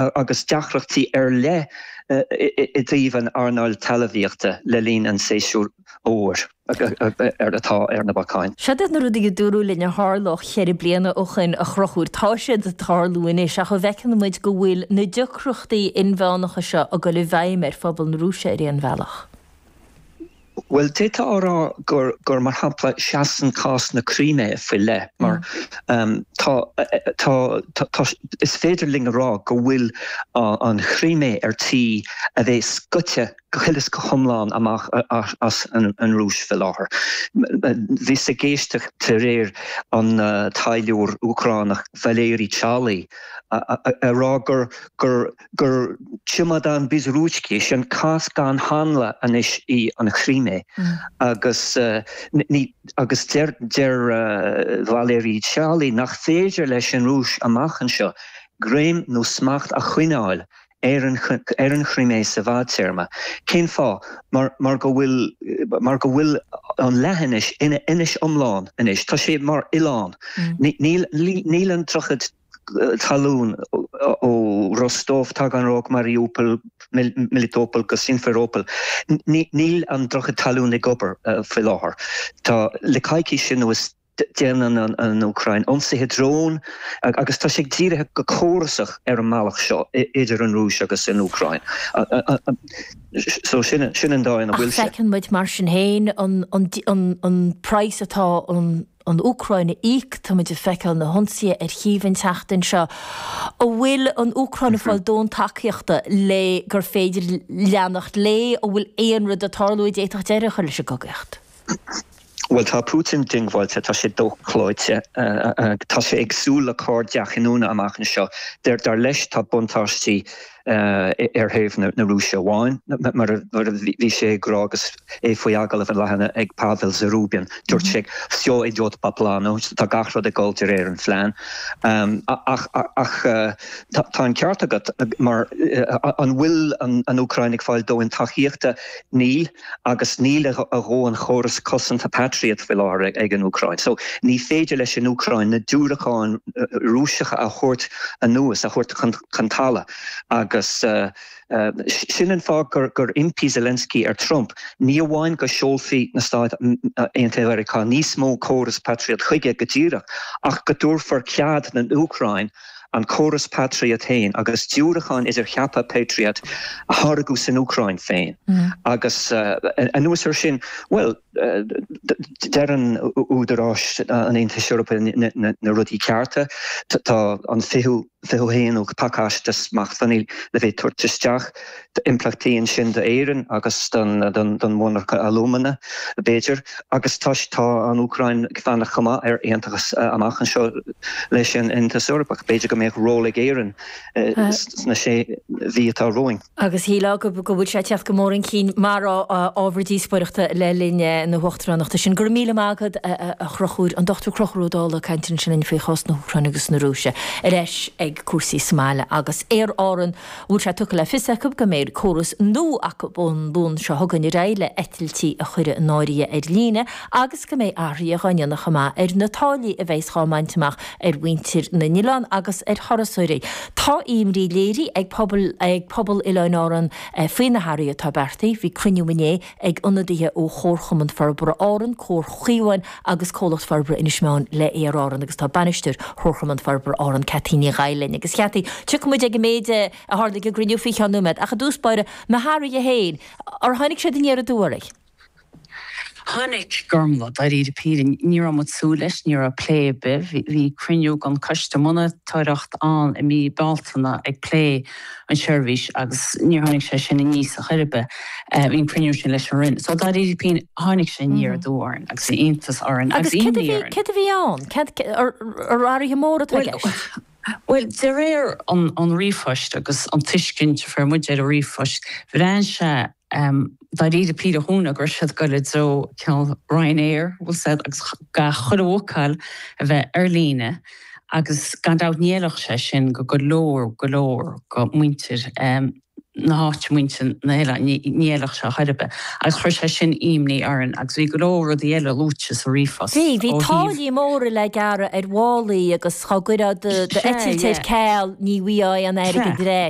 Agus deacrachtaí ar leith i dtaobh an earnáil talmhaíochta le linn an tséasúir fhómhair atá ar na bacáin. Seod iad na rudaí a dúradh linn a tharlódh cheithre bliana ó shoin, a Chonchúir. Tá siad ag tarlú anois ach an bhfeiceann muid go bhfuil na deacrachtaí inmheánacha seo ag dul i bhfeidhm ar phobal na Rúise ar aon bhealach? Bhuel, d'fhéadfá a rá gur, gur mar shampla, seasann cás na Crimé faoi leith mar tá, tá, tá, is féidir linn a rá go bhfuil an Chrimé ar tí a bheith scoite go huile is go hiomlán amach as an Rúis faoi láthair. Bhíos ag éisteacht aréir an taidhleoir Úcránach Valery Chaly a rá gur, gur, gur чемодан без ручки, sin cás gan hanla anois í an Chrimé agus ní agus deir deir Valery Chaly nach féidir leis an Rúis amach anseo greim nó smacht a choinneáil ar an ar an Chrimé sa bhfadtéarma. Cén fáth? Mar mar go bhfuil mar go bhfuil an leathinis ina inis iomlán anois. Tá sé mar oileán. Níl níl an droichead talún ó Rostov, Taganrog, Mariupol, Melitopol go Simferopol. Níl an droichead talún ag obair faoi láthair. Tá le coicís anuas déanann an Úcráin ionsaithe drón agus tá sé dírithe go córasach ar an mbealach seo idir an Rúis agus an Úcráin. So sin an dóigh ina bhfuil sé. Ach feiceann muid mar sin féin an praghas atá an an Úcráin a íoc, tá muid ag feiceáil na hionsaithe ar Chív an tseachtain seo. An bhfuil an Úcráin ag fáil dóthain tacaíochta le gur féidir leanacht léi? An bhfuil aon rud ag tarlú a d'fhéadfadh deireadh a chur leis an gcogaíocht? Bhuel, tá Putin diongbháilte, tá sé dochloíte, tá sé ag súil le cor dea-chinniúna amach anseo. Dar leis, tá buntáistí ar thaobh na Rúise amháin, mar a bhí sé ag rá agus é faoi agallamh an lá cheana ag Pavel Zarubin. Dúirt sé, Vsyo idyot po planu, tá gach rud ag dul de réir an phlean. Ach tá an ceart agat, mar an bhfuil an Úcráin ag fáil dóthain tacaíochta? Níl. Agus níl a dhóthain chóras cosanta Patriot faoi láthair ag an Úcráin. So ní féidir leis an Úcráin na diúracáin Rúiseacha a thabhairt anuas, a thabhairt chun talamh. Agus sin an fáth gur impigh Zelensky ar Trump, ní amháin go seolfaí na Stáit Aontaithe Mheiriceá níos mó córas Patriot chuige go díreach, ach go dtabharfar cead don Úcráin an córas Patriot féin agus diúracáin idircheaptha Patriot a tháirgeadh san Úcráin féin. Agus anuas air sin, bhuel, deireann údaráis an Aontais Eorpaigh na rudaí cearta. Tá an 21ú pacáiste smachtbhannaí le bheith tabhairt isteach. Impleachtaí ansin d'Éirinn agus don mhonarcha alúmana, b'fhéidir. Agus tá an Úcráin ag fanacht chomh maith ar aontachas amach anseo leis an Aontas Eorpach. B'fhéidir go mbeadh ról ag Éirinn sna sé mhí atá romhainn. Agus shílfeá go bhfuil sé ag teacht go mór chun cinn mar ábhar díospóireachta le linn na huachtaránachta sin. Go raibh míle maith agat, a Chonchúir, an Dr Conchúr Ó Dálaigh ag caint ansin linn faoi chás na hÚcráine agus na Rúise. Ar ais ag cúrsaí sa mbaile agus Aer Árann. Bhfuil sé tugtha le fios acu go mbeidh córas nua acu ón Luan seo chugainn ar aghaidh le eitiltí a chur in áirithe ar líne agus go mbeidh athruithe dhá ndéanamh chomh maith ar na táillí a bheas dhá mbaint amach ar mhuintir na n-oileán agus ar thurasóirí. Tá imní léirithe ag pobal ag pobal Oileáin Árann faoi na hathruithe atá beartaithe. Bhí cruinniú inné ag ionadaithe ó Chomharchumann Forbartha Árann, Comhar Chaomháin agus Comhlacht Forbartha Inis Meáin le Aer Árann agus tá Bainisteoir Chomharchumann Forbartha Árann, Cathy Ní Dhaill linn. Agus Chathy, tiocfaidh muid ag an méid a tharla ag an gcruinniú faoi cheann nóiméad, ach i dtús báire, na hathruithe féin, ar tháinig siad aniar aduaidh oraibh? Tháinig, Gormlaith, dáiríre píre, ní raibh muid ag súil leis, ní raibh plé ar bith. Bhí cruinniú den choiste monatóireachta ann i mí Bealtaine ag plé an seirbhís agus níor tháinig sé sin aníos ar chor ar bith. Bhí an cruinniú sin leis an Roinn. So dáiríre píre, tháinig sé aniar aduaidh orainn agus bhí iontas orainn agus imní orainn. Agus céard a bhí ann? Ar athruithe móra atá i gceist? Bhuel, de réir an ríomhphoist agus an tuiscint a fuair muid ar an ríomhphost, bhreathnaigh sé dáiríre píre dhúinn go raibh siad ag dul i dtreo cineál Ryanair, bhfuil 's a'd, agus gach chuile bhookáil a bheith ar líne agus gan dabht ní fheilfeadh sé sin go go leor, go leor go muintir. Na háite, muintir na hoileáin, ní fheilfeadh sé chor ar bith. Agus chuir sé sin imní orainn agus bhí go leor rudaí eile luaite sa ríomhphost Bhí, bhí ó thaobh. táillí móra le gearradh ar mhálaí agus dhá gcuirfeá d'eitilt ar ceal ní bhfaighfeá aon airgead ar ais.